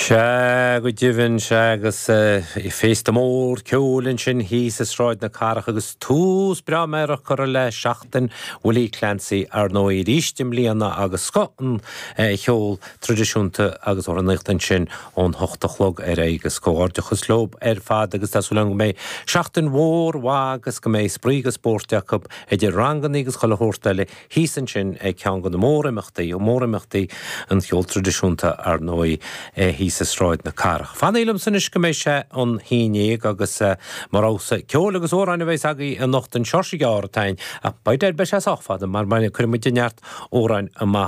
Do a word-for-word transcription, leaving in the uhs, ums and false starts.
Sea go deimhin sea agus féasta mór ceoil ansin thíos i Sráid na Cathrach agus tús breá meidhreach curtha le seachtain Willie Clancy ar ndóigh arís i mbliana agus scoth an cheoil traidisiúnta agus amhránaíocht ansin ón hocht a chlog ar aghaidh agus comhghairdeachas leo ar fad agus tá súil agam go mbeidh seachtain mhór mhaith agus go mbeidh spraoi agus spórt acu idir ranganna agus chuile shórt eile thíos ansin ag ceann de na mórimeachtaí mórimeachtaí an cheoil traidisiúnta ar ndóigh thíos i Sráid na Cathrach. Fanaigí liomsa anois go mbeidh sé an haon déag agus mar fhósa ceol agus amhráin a bheas agaibh anocht an seoirse gearr atá ach beidh beidh sé sách fada mar mar cuirfidh muid neart amhráin amach